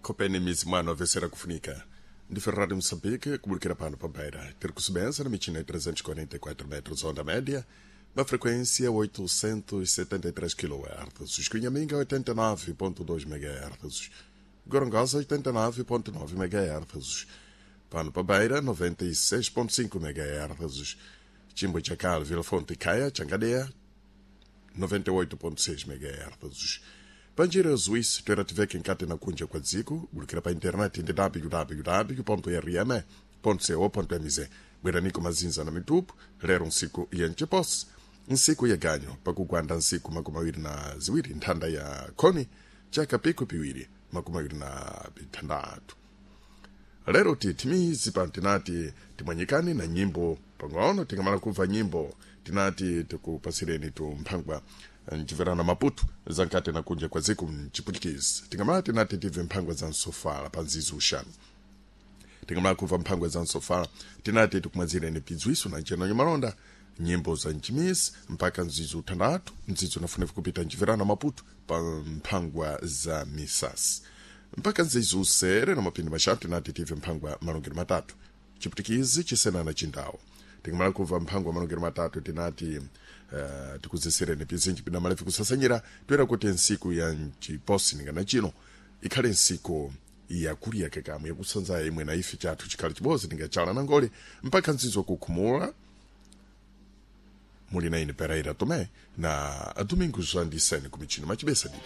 Khopeni mizi mwano avesera kufunika ndi Rádio Moçambique, comunicando pano para Beira. Ter kusubenza na michina 344 metros onda média, na frequência 873 kHz, Escunhaminga 89.2 MHz, Gorongosa 89.9 MHz, Pano para Beira 96.5 MHz, Chimbo Chacal, Vila Fonte Caia, Changadeia 98.6 MHz. Panjira Zuis toera tiveke nkati na kunja kwa dziko bulikira pa internet ndi www.rm.co.mz bweraniko mazinza na mitupu lero nsiku ya nchiposi nsiku ya ganyo pakugwanda nsiku 22 nthanda ya khoni chaka piku piwiri 26. Lero tithimizi pano tinati timwanyikani na nyimbo pang'ono, tingamala kumva nyimbo tinati tikupasireni tumphangwa mchiverano Maputo zankati na kunja kwa dziko mchiputikisi. Tingamala tinati tibve mphangwa za msofala pa nzizi uxanu, tingamala kumva mphangwa za msofala tinati tikumwazireni pidzwiso na nchenonyo malonda nyimbo za mchimisi mpaka nzizi uthandatu nzizi unafunefu kupita mchiverano Maputo pa mphangwa za misasi mpaka nzizi usere na mapindi maxanu tinati tibve mphangwa malongero matatu chiputikizi chisenana chindawo. Tingamala kumva mphangwa malongero matatu tinati tikuzesereni pizinji pina malefu kusasanyira toera kuti nsiku ya nchiposi ningana chino ikhale nsiku yakulya kekamwe yakusanza imwe na ife chathu chikhale chibodzi ningachala na ngole mpaka nzizo kukhumula. Muli na ine Pereira Tomé na Domingos Andissene kumichino machibesa didi.